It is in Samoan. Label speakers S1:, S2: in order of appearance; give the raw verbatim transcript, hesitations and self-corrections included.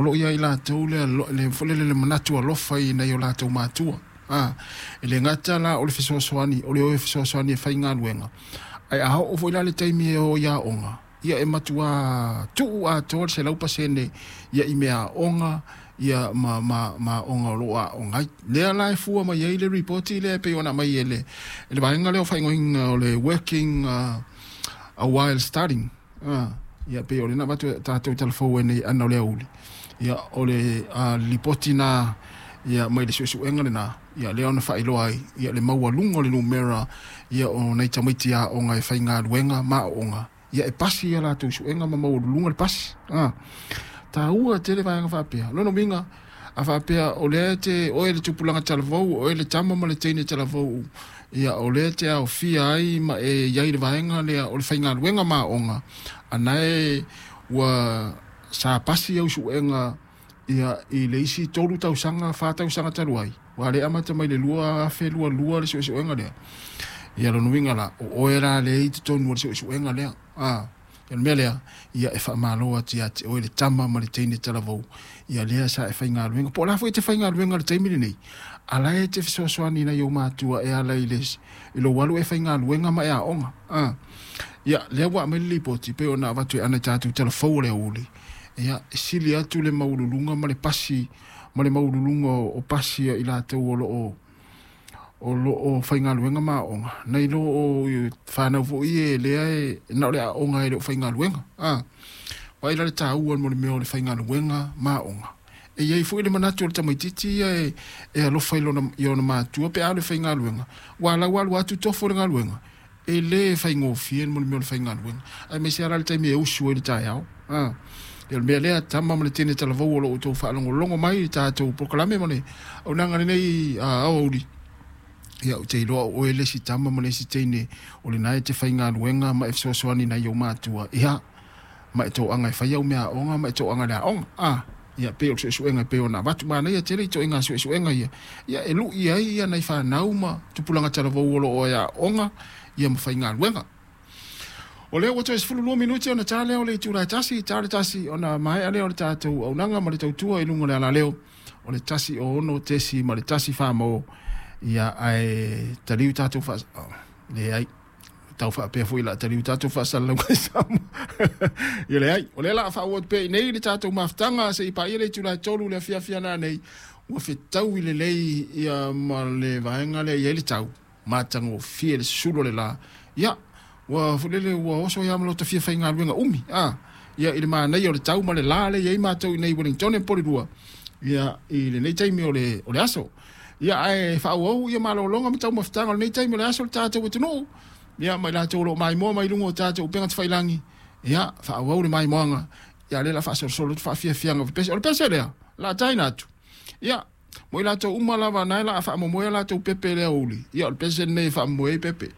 S1: O loo ia i latou le le folele le manatu alofa i nai o latou matua. Ah, e le gata la o le fesoasoani, o le o e fesoasoani e faigaluega. Ae a oo foi la le taimi e o i aoga, ia e matua tuu atoa le selau pasene ia i mea aoga, ia ma ma ma aoga o loo aoga ai. Lea la e fua mai ai le ripoti lea e pei ona aumai e le e le vaega lea o faaigoaina o le working uh, a while studying. Ah, ia pei o lena avatu tatou talafou ai nei ana o le aoauli. Ia o le uh, lipoti na ia mai le suesuega lena, ia lea ona faailoa ai ia le maualuga o le numera ia o nai tamaiti aoga e faigaluega ma aoga, ia e pasi ia latou suega ma maualuluga le pasi. Ah, taua tele vaega faapea. Lona uiga a faapea o lea te oe le tupulaga talavou, oe le tama ma le teine talavou, ia o lea te aofia ai ma e iai le vaega lea o le faigaluega ma aoga, ana e ua sa pasi au suega ia i le isi tolu tausaga, fa tausaga talu ai, ua le amata mai le lua afe lua lua le suesuega lea. Ia lona uiga la o oe la le i totonu o le suesuega lea. Ah, o le mea lea, ia e faamalo atu ia te oe le tama ma le teine talavou, ia lea sa e faigaluega. Po o la foi e te faigaluega i le taimi lenei, a la e te fesoasoani nai ou matua e ala i le i lou alu e faigaluega ma e aoga. Ah, ia lea ua aumai le lipoti pei ona avatu e ana i tatou talafou o le aoauli, ia e sili atu le maualuluga ma le pasi ma le maualuluga o pasi i latou o loo o loo faigaluega ma aoga, nai lo o fanau foi e lea e na o le aoga e le o faigaluega. Ah, vaai la le taua mo le mea o le faigaluega ma aoga. E iai foi le manatu o le tamaitiiti ia e, e alofa i lona, i ona matua pe a le faigaluega. Ua lau alu atu tofo le galuega, e le faigofie mo le mea o le faigaluega. Aemaise lava la le taimi e usu ai le taeao. Ah, ia o le mea lea, tama ma le teine talavou o loo outou faalogologo mai i tatou polokalame ma le auaunaga lenei aoauli. Ia ou te iloa o oe le isi tama ma le isi teine o lena e te faigaluega ma e fesoasoani nai ou matua, ia ma e toaga e fai au mea aoga ma e toaga i le aoga. Ah, ia pei o le suesuega e pei ona avatu manaia tele i ituaiga suesuega ia, ia e lui ai ia nai fanau ma tupulaga talavou o loo e aoga ia ma faigaluega. O lea ua toe sefulu lua minute ona ta lea o le itula e tasi, ta le tasi ona maea lea o le tatou auaunaga ma le tautua i luga o le alaleo o le tasi o ono tesi ma le tasi fa mo. Ia ae taliu tatou faa oh, leai tau faapea foi la taliu tatou faasalalauga i Samoa. Ia leai, o lea la a faaauau atu pea i nei le tatou mafutaga se i paia le itula e tolu le afiafi ana nei ua fetaui lelei ia ma le vaega lea i ai le tau matagofie le susulu o le la. Ia ua fulele ua oso ia ma lo tafia faigaluega umi. Ah, ia i le manaia o le tau ma le la le i ai matou i nei Wellington e Porirua ia i lenei taimi o le o le aso. Ia ae faaauau ia malologa ma taumafataga o lenei taimi o le aso le tatou atunuu. Ia mai latou o loo maimoa mai luga o tatou upega tafailagi. Ia faaauau le maimoaga. Ia lea la faasolosolo atu faafiafiaga o le pese. O le pese lea la taina atu. Ia mo i latou uma lava nae la faamoemoe latou pepe lea uli. Ia o le pese lenei e faamoemoe ai pepe.